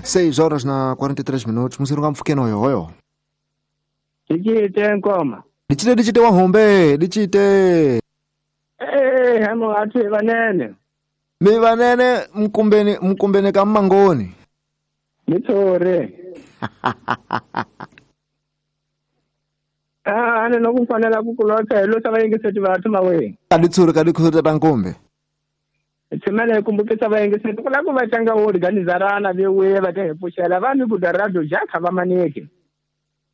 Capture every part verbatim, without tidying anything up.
seis horas na quarenta e três minutos, musirunga mfukeno hoyo. Dichite nkoma. Dichite dichite wahombe, dichite. Eh, hamo atu vanene. Mi vanene mkumbeni mkumbeni kama ngoni. Nitore. Ah, ana nokufanela kukulotha lo sava yengiseti vathu mawe. Kaditsuri kaditsuri tankombe. Tshimele kumbukisa vayengiseti kula ku va tlanga organizarana vewe va ta hi pfuxela vanhu ku radio jakha va maneke.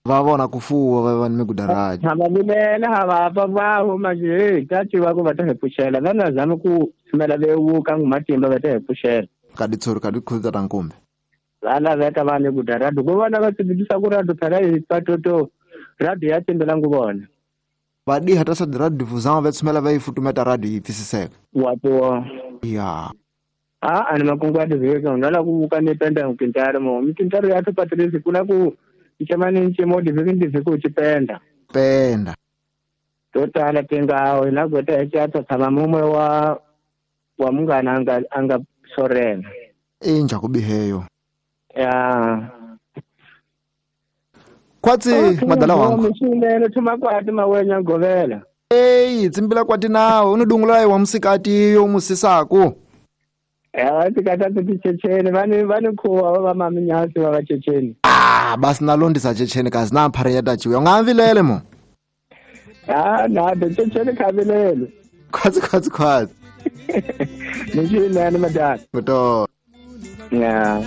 Va vona ku fuwa va vanhu ku radio. Ha va vilela ha va pa va huma nje ta tiva ku va ta hi pfuxela va na zama ku tshimela vewu ka matimba va ta hi pfuxela. Kaditsuri kaditsuri tankombe. Va laveka vanhu ku radio ku vona va tsibisa ku radio phela hi patoto radio ya timbela nguvona. Va diha ta sa radio difusão va tshimela va yi futumeta radio yi pfisiseka. Wa to. Ya. Ah, ani makungu ya diveka unala ku vuka ni penda mkintaro mo. Mkintaro ya tu patrisi kuna ku ichamani nchimo diveka ndiveka uchipenda. Penda. Totala tenga ina gota echato tama mumwe wa wa mungana anga anga sorena. Inja kubiheyo. Ya. Kwatsi okay, madala wangu. Mshindene tumakwati mawenya ngovela. Hey, tsimbila kwati nawe unodungula wa musikati yo musisako. Eh, vatikata tichecheni vani vani khuwa va maminyasi va vachecheni. Ah, basi nalondisa checheni kazi na phare ya tachiwe. Ungamvilele mo. Ah, na checheni khavilele. Kwatsi kwatsi kwatsi. Nishindene madala. Kuto. Yeah.